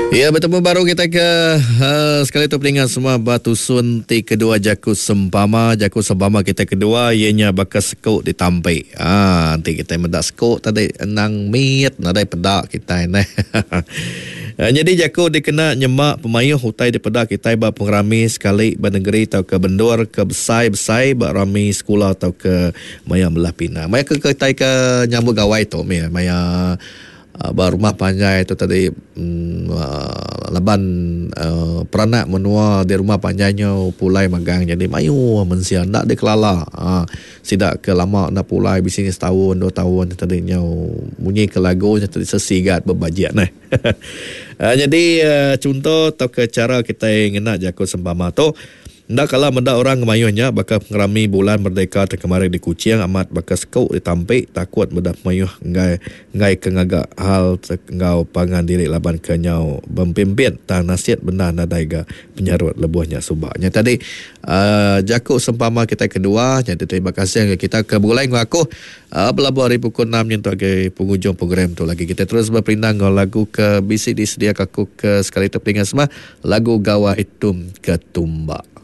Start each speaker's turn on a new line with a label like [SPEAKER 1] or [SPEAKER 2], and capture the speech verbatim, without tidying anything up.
[SPEAKER 1] Ya, betemu baru kita ke uh, sekali tu peningat semua batusun ti kedua jaku sempama. Jaku sempama kita kedua ianya baka sekuk ditampi. Ah, nanti kita medak sekuk tadi enang mit nadai peda kita neh. Jadi jaku dikena nyemak pemayuh utai dipeda kita ba pengerami sekali ba negeri atau ke bendur ke besai-besai ba rami sekolah atau ke maya belah pina. Maya ke kita ke nyambut gawai tu maya maya uh, ba rumah panjai tu tadi um, uh, laban uh, peranak menua di rumah panjainya pulai magang jadi mayu mensia ndak dikelala. Uh, sidak ke lama nak pulai bisini setahun dua tahun tadi nyau bunyi ke lagu tadi sesigat berbajian eh. Uh, jadi uh, contoh atau ke cara kita ngena jaku sempama tu ndak kala mendak orang ngemayuhnya baka pengerami bulan merdeka terkemarin di Kuching amat baka sekuk ditampi takut mendak mayuh ngai ngai ke ngagak hal ngau pangan diri laban ke nyau bempimpin tang nasihat benar nadai ga penyarut lebuhnya subaknya tadi uh, jaku sempama kita kedua. Jadi terima kasih kita ke bulai ngau aku uh, belabuh hari pukul enam nyentuk ke penghujung program tu lagi kita terus berperindang ngau lagu ke bisi disediakan aku ke sekali tu peningan semua lagu Gawai Tum Ketumbak.